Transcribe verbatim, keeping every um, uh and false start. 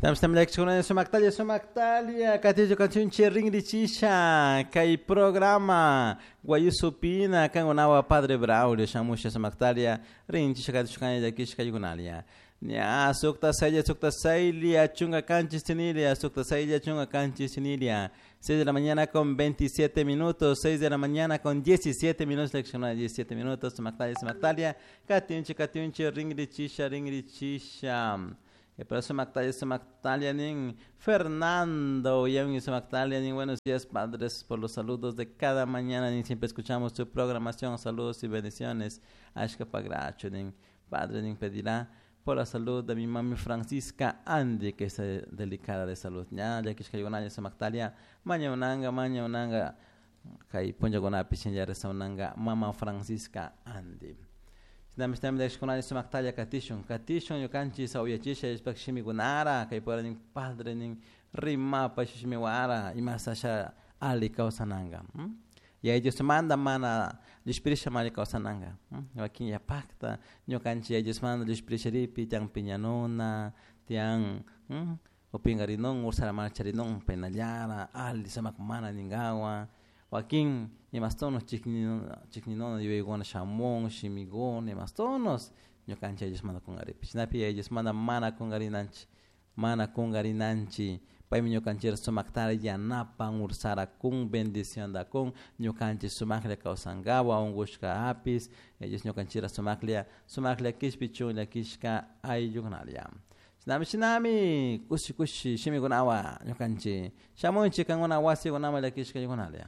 Tamstamlakchuna sumaktalia sumaktalia katillo canción ringrichisha kay programa Guayusupina kangunawa Padre Braulio shamusha sumaktalia rinchisha katishukanya llakishka yugunalia. Ña sukta saylla sukta saylia chunga kanchis tinilia sukta saylla chunga kanchis tinilia. seis de la mañana con veintisiete minutos, seis de la mañana con diecisiete minutos, lección diecisiete minutos, sumaktalia sumaktalia katinchi katinchi ringrichisha ringrichisha. Pero sumaktalia sumaktalia nin Fernando y sumaktalia nin buenos días padres por los saludos de cada mañana nin siempre escuchamos su programación, saludos y bendiciones. Ashka pagracho nin padre nin pedirá por la salud de mi mami Francisca Andy, que está delicada de salud. Ya, ya que es sumaktalia maña unanga maña unanga kay punllakunapi shinlla unanga mama Francisca Andy. Shinami shinami llakishkunalla sumaktalia katishun katishun ñukanchik uyachisha ishpak shimikunara kay pura nin padre nin rimapa shimiwara imasasha ali kawsananga. Yaya Diosmanta mana llushpirisha mana kawsananga. Wakin yapakta ñukanchik Yaya Diosmanta llushpirisharipi tiyan piñanuna tiyan upinkarinun ursara mana charinun penallara ali sumak mana ninkawan wakin imastonos chikninuna yuyaykuna shamun shimikuna imastonos ñukanchik Yaya Diosmanta kunkaripi shinapi Yaya Diosmanta mana kunkarinanchik mana kunkarinanchik paymi ñukanchikta sumaktara yanapan ursara kun bendicionta kun ñukanchik sumaklla kawsankawan unkushka apis Yaya Dios ñukanchikta sumaklla sumaklla kishpichun llakishka ayllukunalla. Shinami shinami kushi kushi shimikunawan ñukanchik shamunchik kankuna wasikunaman llakishka ayllunalla.